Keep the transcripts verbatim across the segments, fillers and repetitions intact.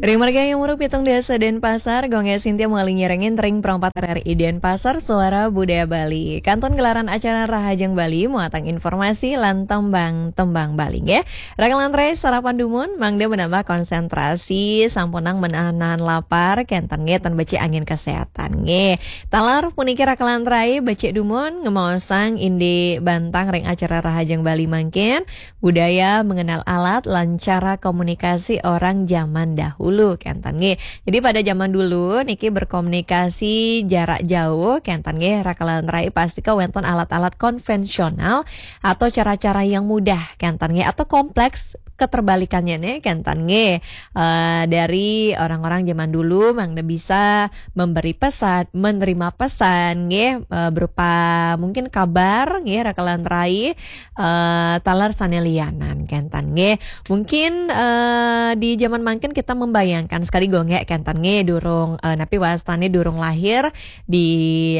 Ring margi yang muruk pitung dasa Denpasar, Gung Gek Sintia mawali nyarengin ring Pro empat R R I Denpasar, Suara Budaya Bali. Kantun gelaran acara Rahajeng Bali, muatan informasi lan tembang-tembang Bali, nggih. Raka lan rai sarapan dumun, mangda menambah konsentrasi, sampunang menahan lapar, kenten nggih, tan becik angin kesehatan, nggih. Taler puniki raka lan rai becik dumun, ngemaosang indik bantang ring acara Rahajeng Bali mangkin, budaya mengenal alat lan cara komunikasi orang zaman dahulu, kenten nggih. Jadi pada zaman dulu niki berkomunikasi jarak jauh, kenten nggih, raka lan rai pasti ka wenten alat-alat konvensional atau cara-cara yang mudah, kenten nggih, atau kompleks keterbalikannya nih, kenten nggih. Eh, dari orang-orang zaman dulu mangda bisa memberi pesan, menerima pesan nggih, eh, berupa mungkin kabar nggih, raka lan rai, eh, taler sane lianan, kenten nggih. Mungkin, eh, di zaman mangkin kita membayangkan sekali Gung Gek, kenten nggih, durung, eh, napi wastane durung lahir, di,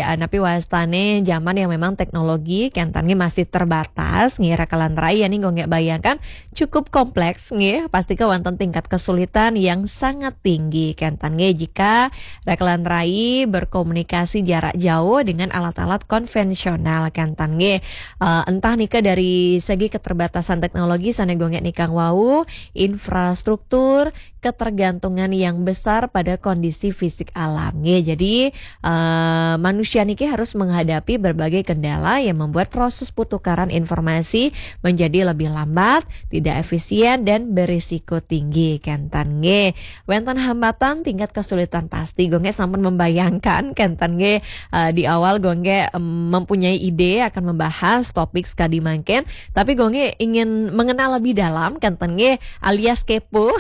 eh, napi wastane zaman yang memang teknologi, kenten nggih, masih terbatas nggih, raka lan rai, ya nih Gung Gek bayangkan cukup kompleks nggih, pasti ka wenten tingkat kesulitan yang sangat tinggi, kenten nggih, jika raka lan rai berkomunikasi jarak jauh dengan alat-alat konvensional, kenten nggih. Eh, entah nika dari segi keterbatasan teknologi sane Gung Gek nikang wau, infrastruktur, ketergantungan yang besar pada kondisi fisik alam, nggih. Jadi, eh, manusia niki harus menghadapi berbagai kendala yang membuat proses pertukaran informasi menjadi lebih lambat, tidak efisien, dan berisiko tinggi, kenten nggih. Wenten hambatan, tingkat kesulitan pasti. Gung Gek sampun membayangkan, kenten nggih, eh, di awal Gung Gek, em, mempunyai ide akan membahas topik sekadi mangkin, tapi Gung Gek ingin mengenal lebih dalam, kenten nggih, alias kepo.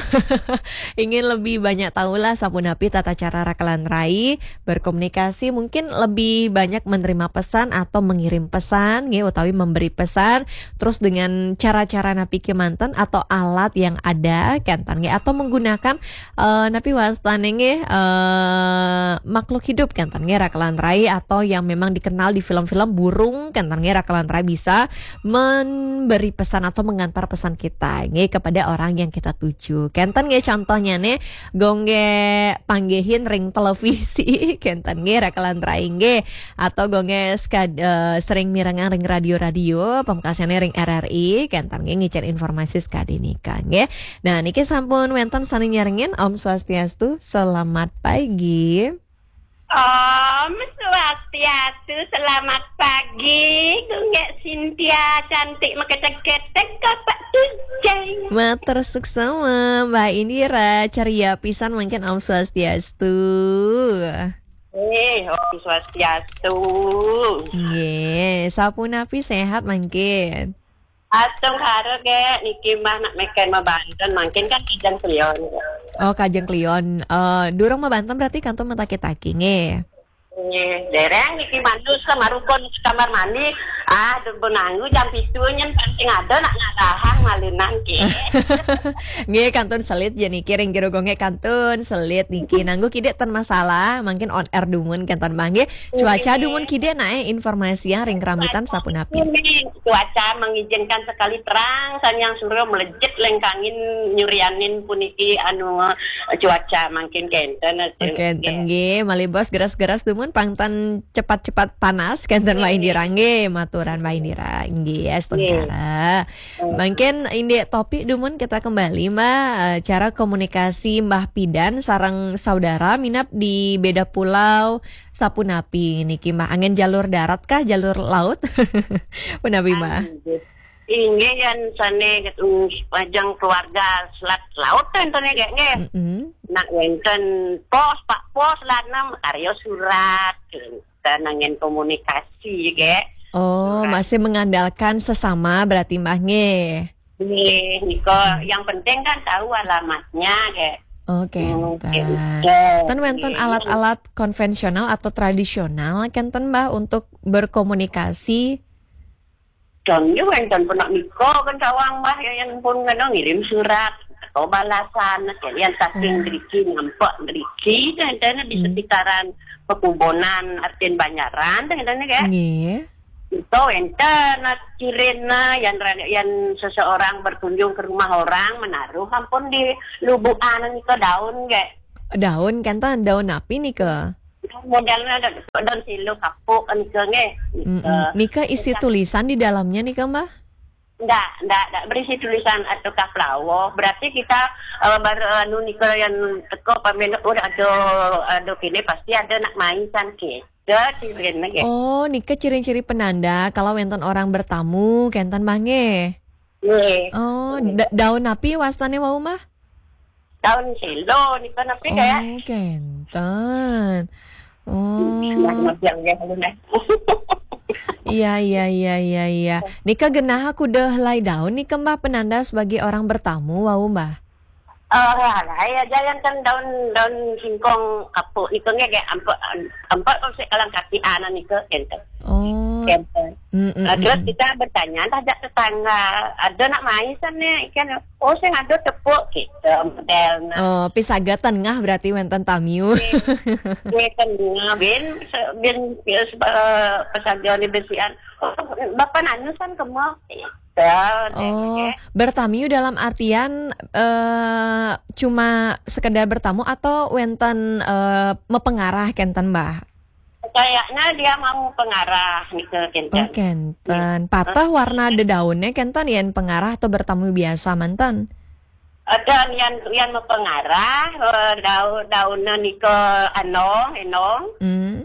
Ingin lebih banyak tahulah sapunapi tata cara raka lan rai berkomunikasi, mungkin lebih banyak menerima pesan atau mengirim pesan, nggih, utawi memberi pesan, terus dengan cara-cara napi kemanten atau alat yang ada, kenten nggih, atau menggunakan, eh, napi wastane nggih, eh, makhluk hidup, kenten nggih, raka lan rai, atau yang memang dikenal di film-film burung, kenten nggih, raka lan rai bisa memberi pesan atau mengantar pesan kita nggih kepada orang yang kita tuju. Kenten nggih, contohnya nih, Gung Gek panggihin ring televisi, kenten nggih, raka lan rai nggih. Atau Gung Gek sekad-, eh, sering mirengang ring radio-radio, pamekasane ring R R I, kenten nggih, ngicen informasi sekadi nika nggih. Nah, niki sampun wenten sane nyarengin, Om Swastiastu, selamat pagi. Om Swastiastu, selamat pagi, Gung Gek Sintia, cantik mekecek-kecek, Kapak Tujeng. Matur suksma, Mbak Indira, ceria pisan mangkin, Om Swastiastu. Eh, Om Swastiastu. Nggih, sapunapi sehat mangkin? Asung haro, Gek, niki mah nak meken mabanten, mangkin kan Kajeng Kliwon. Oh, Kajeng Kliwon. Eh, durung mabanten berarti kantun mataki-taki, nggih. Eh, dereng niki manus ke marukon ke kamar mandi. Ah, durung nanggu jam pitu nyen penting ada nak ngadahang malinan, Gek. Nggih, kantun selit ya niki, ring jero Gung Gek kantun selit niki. Nanggu kidik ten masalah, mangkin on air dumun kenten mangke. Cuaca dumun kidik nae informasi yang ring kerambitan sapunapi. Ini cuaca mengizinkan sekali terang, sanyang surya melejit lengkangin nyurianin puniki anu cuaca mangkin kenten. Oke, enten nggih, malih bos geras-geras dumun pang ten cepat-cepat panas kenten Mbak Indira nggih, maturan Mbak Indira. Nggih, astungkara. Mangkin indik topik dumun kita kembali, Mbak, eh, cara komunikasi Mbah Pidan sareng saudara minab di beda pulau, sapunapi niki, Mbah? Anggen jalur darat kah, jalur laut? Punapi, Mbah? Inggih, yen sane, mm, majeng keluarga selat laut ten, ten, nggih, nggih. Mm-mm. Nak wenten pos, Pak Pos, lanem karya surat, ten anggen komunikasi, nggih. Oh, surat. Masih mengandalkan sesama berarti, Mbah, nggih? Nggih, nika yang penting kan tahu alamatnya, nggih. Oke, hmm, Mbah. Ten wenten alat-alat konvensional atau tradisional kenten, Mbah, untuk berkomunikasi? Contoh wenten penak nika kan sawang, Mbah, ya, yang pun ngeno ngirim surat atau balasan, yang saking driki nampak driki, dan di sekitaran pekubonan, artin Banjaran, dan, dan, ya. Nggih. Nika wénten cirinna, yan ra-, yan seseorang berkunjung ke rumah orang, menaruh ampun di lubukan nika daun ge. Daun kenten, daun napi nika? Modelna da-, daun silo kapuk nika nggih. Mm-mm. Nika. Nika isi tulisan di dalamnya nika, Mbah? Ndak, ndak, ndak berisi tulisan atau kaplawo. Berarti kita, eh, baru anu nika yang teko pamit, oh, ada, ada kini pasti ada nak main san kita cirinna ge. Oh, nika ciri-ciri penanda kalau wénten orang bertamu, kenten Mbah nggih? Nggih. Oh, da-, daun napi wastane wau, Mbah? Daun silo nika napi kayak. Oh, kenten. Oh. Nah, yang ya, lu, nah. Iya, iya, iya, iya, iya. Nika genah aku deh lai daun nika, Mbah, penanda sebagai orang bertamu, wau, Mbah? Eh, lah, ya, jangan kan daun, daun singkong kapuk nika nggih, nggih, ampe, ampe kok sik kalang kaki anak nika, kenten. Oh. Kenten. Mm, mm, Nah, terus mm, mm. kita bertanya, "Dah jak tetangga, ada nak main sana ikan?" "Oh, saya ada tepuk," gitu, modelna. Oh, pisaga tengah berarti wénten tamiu. Nggih, nggih, tengah, bin, se-, bin, ya, se-, eh, pesaga ni bersihan. "Oh, Bapak nanu san kemo?" Gitu, Oh, nggih. Bertamiu dalam artian, eh, cuma sekedar bertamu atau wénten, eh, mepengarah kenten, Mbah? Kayaknya dia mau pengarah nika, kenten. Oh, kenten. Patah warna dedaunnya kenten, yen pengarah atau bertamu biasa manten? Ada yang, yang mau pengarah, eh, daun, daunnya nika anong, enong. Hmm.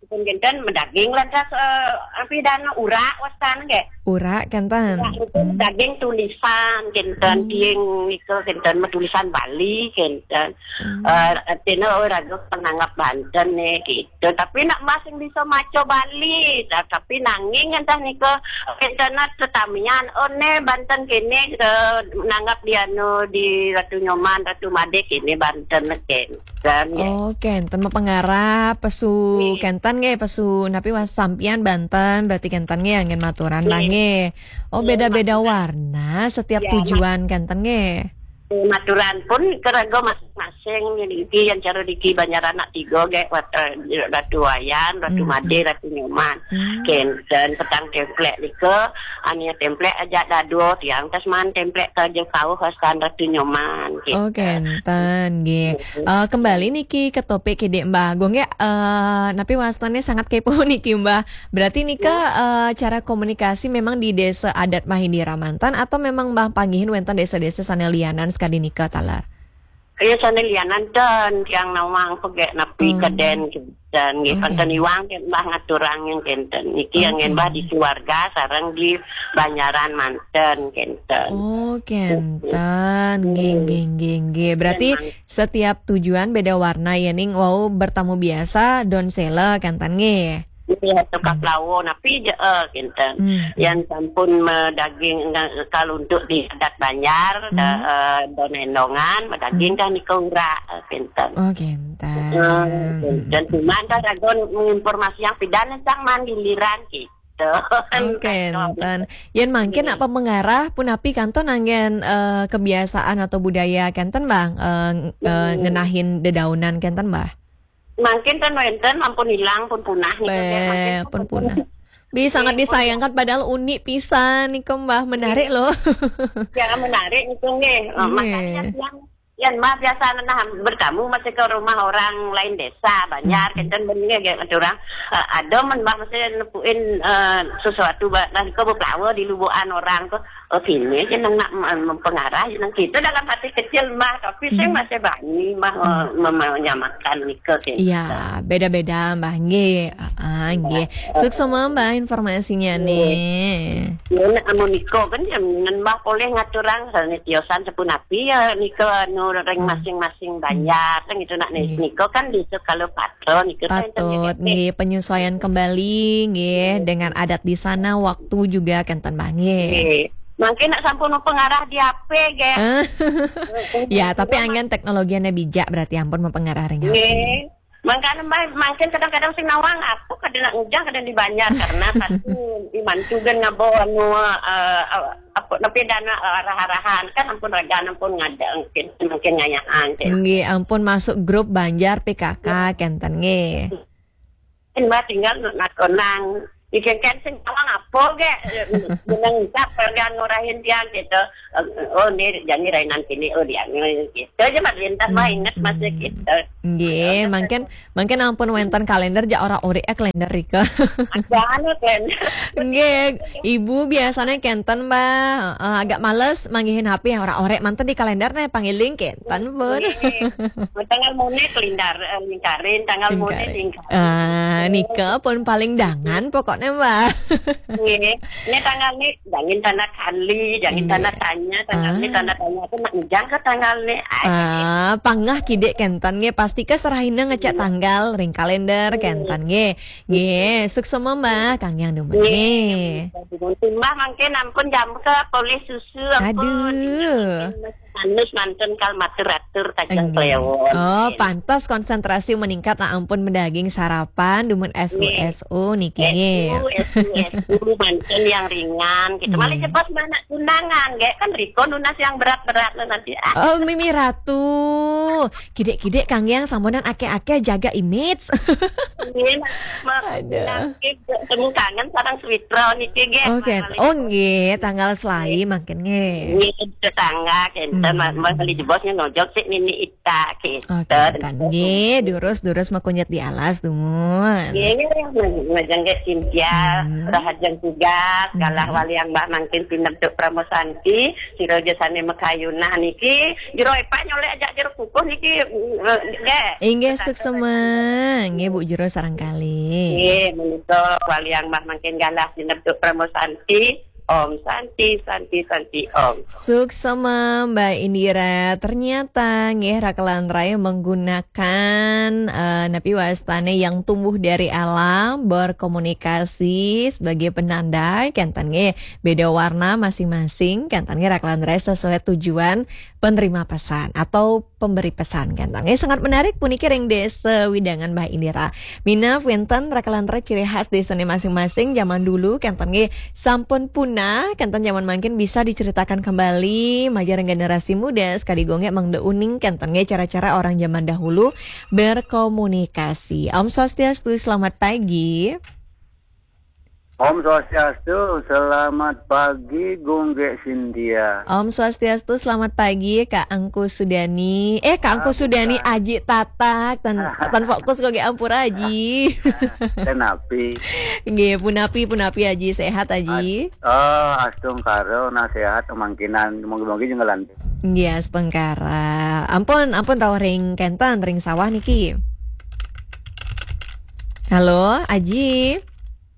Pun kenten medaging lantas, eh, api dan urak wastan ge. Urak kenten. Urak itu Hmm. daging tulisan, kenten Hmm. tiang nika, kenten metulisan Bali, kenten. Hmm. Eh, artinya, oh, raga penanggap Banten nih, gitu. Tapi nak masing bisa maco Bali. Nah, tapi nanging entah nika, kenten tetamian, oh, ne Banten kene, eh, nanggap di anu, di Ratu Nyoman, Ratu Made kene Banten, kenten, ya. Oh, kenten mepengarah, pesu Nih. kenten nggih, pesu napi was sampian Banten, berarti kenten nggih, anggen maturan Nih. Mbah nggih. Oh, Iya, beda-beda maturan. warna setiap Ya, tujuan kenten nggih. Maturan pun keraga masing-masing, niki yang cara diki Banjar anak tiga ge, wat-, eh, Ratu Wayan, Ratu Hmm. Made, Ratu Nyoman. Hmm. Kenten petang templek nika, ania templek aja dado tiang tas man templek ke aja kau hasan Ratu Nyoman, Oh, kenten. kenten nggih. Hmm. Eh, kembali niki ke topik kidek Mbah Agung ya, eh, napi wastane sangat kepo niki Mbah. Berarti nika, Hmm. eh, cara komunikasi memang di desa adat Mahindira manten atau memang Mbah panggihin wénten desa-desa sane lianan sekadi nika taler? Iya, sane lianan ten, tiang nawang pegek napi Hmm. keden kenten, nggih, Oke. panten iwang ken Mbah ngaturang yang kenten. Niki yang Oke. ngen Mbah di keluarga sareng di Banjaran manten kenten. Oh, kenten. Nggih, Hmm. nggih, nggih, nggih. Berarti Memang. setiap tujuan beda warna ya, ning wau bertamu biasa don sela kenten nggih. Iya, tukang Hmm. lawo, napi je, eh, kenten. Hmm. Yang sampun medaging, eh, kalau untuk di adat Banjar, Hmm. da-, eh, don endongan, medaging Hmm. dah nika urak, eh, kenten. Oh, kenten. Eh, Hmm. kenten. Cuman dah ragon informasi yang pidan sang man giliran gitu. Oh, kenten. Yen mangkin Iya. nak pemengarah pun api kanton anggen, eh, kebiasaan atau budaya kenten, Bang, eh, ng-, eh, Hmm. ngenahin dedaunan kenten, Bah? Mangkin kan wénten, ampun hilang, pun punah nih, Beh, kan, mangkin pun pun punah. Bisa sangat Iya, pun disayangkan, padahal unik pisan nih, Mbah. Menarik Iya. loh. Ya, menarik itu nggih. Eh, Iya. makanya yang, yang Mbah biasa nah bertamu masih ke rumah orang lain desa, Banjar, Hmm. kenten bener ya, kata orang. Eh, ada men Mbah masih nepuin, eh, sesuatu, Mbah, nah, ke bepelawa di lubukan orang tuh. Oh, sini aja nang nak mem-, mempengarah, nang kita dalam hati kecil, Mbah, tapi saya Hmm. masih bani, Mbah, Hmm. me-, me-, menyamakan nika, gitu. Iya, beda-beda, Mbah, nggih. Ah, ah, Mbah. Nggih. Suksma, Mbah, informasinya Nggih. nih. Ya, nak amun nika kan, ya, ngen Mbah boleh ngaturang, soalnya tiosan sepun api, ya, nika, anu, ring Hmm. masing-masing Hmm. banjar, kan gitu, nak, nih, Nggih. nika kan di kalau patron, nika kan Patut, nggih, penyesuaian kembali, nggih, Nggih. dengan adat di sana, waktu juga, kenten, Mbah, nggih. Nggih. Mangkin nak sampun mempengarah di H P, nggih. Eh. Ya, tapi anggen teknologinya bijak, berarti ampun mempengarah ring H P. Nggih. Mangkana, Mbah, mangkin kadang-kadang sing nawang, aku kadang nak ngujang, kadang di Banjar, karena pasti di mantu kan ngabo anu, eh, apa, napi dana arah-arahan, kan ampun raga, ampun ngada, mungkin, mungkin ngayaan, kan. Nggih, ampun masuk grup Banjar P K K, Ya. kenten, nggih. Mbah tinggal nak konang. Ikan kan sing tawang apa ge? Menang tak pergan ngurahin tiang gitu. Eh, oh, ini jadi rainan kini, oh, dia gitu aja, Mat, lintas mah inget masih gitu. Nggih, mangkin mangkin ampun wénten kalénder, ja ora urik eh kalénder rika. Ada anu kan. Nggih, Ibu biasanya kenten, Mbak. Eh, agak males manggihin H P, ora orek manten di kalénder nih, pangiling kenten pun. Tanggal mone kelindar, eh, lingkarin, tanggal mone lingkarin. Ah, nika pun paling dangan pokoknya, Mbak. Nggih. Ini tanggal nih, jangan tanda kali, jangan tanda tanya, tanggal ini tanda tanya aku nak ngejang ke tanggal nih. Ah, pangah kidik kenten nggih, pasti ke serahina ngecek tanggal ring kalénder kenten nggih. Nggih, suksema, Mbak, kang yang demen nggih. Mbah mangkin ampun jam ke polis susu ampun. Aduh. Manus manten kal matur-atur tajang klewon. Oh, pantas konsentrasi meningkat lah ampun mendaging sarapan dumun S U S U niki nggih. S U S U manten yang ringan gitu. Malah cepat mana tunangan, kayak kan Riko nunas yang berat-berat lo nanti. Ah, Oh, Mimi Ratu. Kidik-kidik kang yang samponan akeh-akeh jaga image. Ini mah Aduh. Temu kangen sareng Switro niki nggih. Oke, oh nggih, tanggal selai mangkin nggih. Ini tetangga kenten, hmm. Mas beli jebosnya ngojok sih nini ita gitu. Oke, kan nggih, durus-durus makunyit di alas dumun. Iya, iya, iya, ngajeng ke Cynthia, Hmm. Rahajeng tugas, galah wali yang Mbah mangkin pinter tuk Pramosanti, sira jasane mekayunah niki, jero epa nyolek aja jero kukuh niki, eh, nggih. Inggih suksema, nggih Bu Jero sareng kali. Nggih, menika wali yang Mbah mangkin galah pinter tuk Pramosanti, Om Santi, Santi, Santi, Om. Suksema Mbak Indira, ternyata nggih rakelan raya menggunakan eh, napi wastane yang tumbuh dari alam, berkomunikasi sebagai penanda, kenten nggih beda warna masing-masing, kenten nggih rakelan raya sesuai tujuan penerima pesan atau pemberi pesan kenten nggih. Sangat menarik puniki ring desa wewidangan Mbak Indira. Minab wenten rakelan raya ciri khas desane masing-masing zaman dulu kenten nggih sampun punah, kenten zaman mangkin bisa diceritakan kembali majeng generasi muda sekaligus nggih mangda uning kenten nggih cara-cara orang zaman dahulu berkomunikasi. Om Swastiastu, selamat pagi. Om Swastiastu, selamat pagi Gung Gek Cynthia. Om Swastiastu, selamat pagi Kak Angku Sudani. Eh, Kak Angku Sudani, Aji Tatak, tan tan fokus kok ampura Aji. Kenapi? Nggih, punapi, punapi Aji, sehat Aji. Oh, astungkara, nah sehat mangkinan, mogi-mogi jengelan. Nggih, astungkara. Ampun, ampun rawuh ring kenten ring sawah niki. Halo, Aji.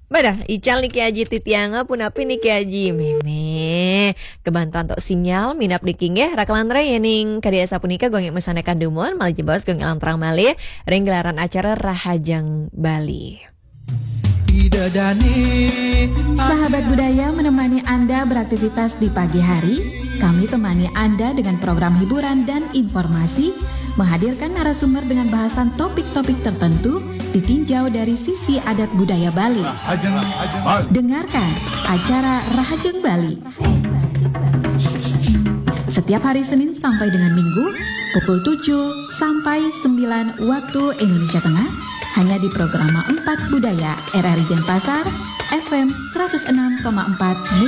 Badah, ical niki Aji titiang, punapi niki Aji. Meme, kebantuan tok sinyal, minab niki nggih, rakelan raya ning kadi asapunika gung nggih mesanekan dumun, malih jebos gung nggih lantrang malih ring gelaran acara Rahajeng Bali. Sahabat budaya menemani Anda beraktivitas di pagi hari. Kami temani Anda dengan program hiburan dan informasi, menghadirkan narasumber dengan bahasan topik-topik tertentu, ditinjau dari sisi adat budaya Bali. Dengarkan acara Rahajeng Bali setiap hari Senin sampai dengan Minggu pukul tujuh sampai sembilan waktu Indonesia Tengah, hanya di Programa empat Budaya R R I Denpasar, F M seratus enam koma empat